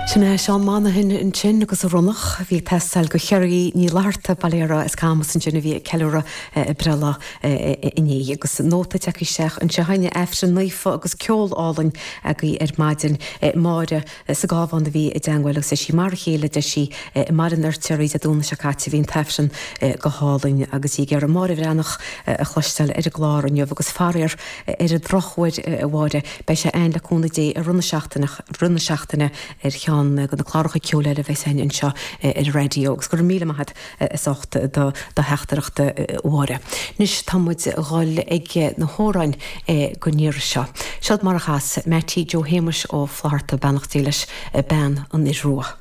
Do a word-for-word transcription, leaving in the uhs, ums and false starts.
Sin é Seán Monaghan ansin agus a Ronnach bhí ag teastáil do Cherry Ní Fhlatharta Baile Átha as Camas ansin a bhí ag ceiliúradh a breithlá inné agus nóta tagtha isteach anseo chugainn Aifreann naofa agus ceol álainn agaibh ar maidin Máire sa Gábhán a bhí i dteagmháil agus sí mar a chéile de sí i mBaile an Fheirtéaraigh Dé Domhnaigh seo caite bhí an t-aifreann go hálainn agus í ag iarraidh Máire Bhreathnach a chloisteáil ar an gclár inniu agus faraor ar an drochuair a Mháire beidh sé ann le cúnamh Dé i rith na seachtaine rith na seachtaine ar cheann de na cláracha ceoil eile a bheas againn anseo ar an raidió agus go raibh míle maith agat as ucht do do theachtaireacht a Mháire. Anois tá muid ag dul ag na hamhráin don iarraidh seo. Seod mar a chas Mattie Joe Shéamuis Ó Flatharta beannacht Dé leis bean an Fhir Rua.